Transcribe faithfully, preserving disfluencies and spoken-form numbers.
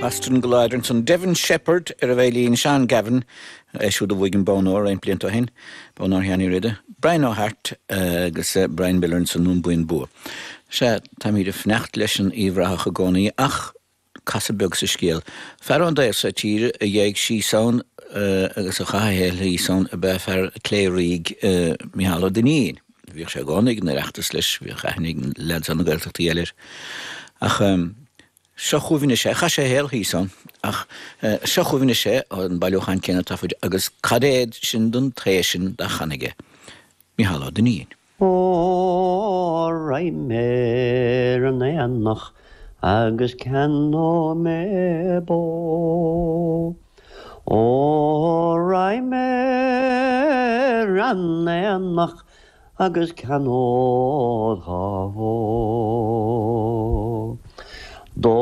Boston go láidir ansan Devin Sheppard ar an veidhlín Sean Gavin é siúd a bhuaigh an bonn óir roinnt blianta ó shin, bonn óir Sheáin Uí Riada, Brian O'Hart agus Brian Miller ansan ón Buíon Bua. Sea táimid ag fanacht leis an Uíbh Ráthach i gcónaí ach casadh beag sa scéal. Fear ón dtaobh seo tíre a dhéag síos ann agus a chaith a shaol thíos ann ab ea fear Chléirigh Micheál Ó Duinnín. Bhíodh sé i gcónaí ag an Oireachtas leis, bhíodh aithne ag leaids na Gaeltachtaí eile air. Ach seo chugaibh anois é, chaith sé a shaol thíos ann, ach seo chugaibh anois é an bailiúchán céanna taifid agus cad é sin don tae sin dá chan aige, Micheál Ó Duinnín. Ó raghaidh mé ar an aonach agus ceannóidh mé bó. Ó raghaidh mé ar an aonach agus ceannód dhá bhó. Dó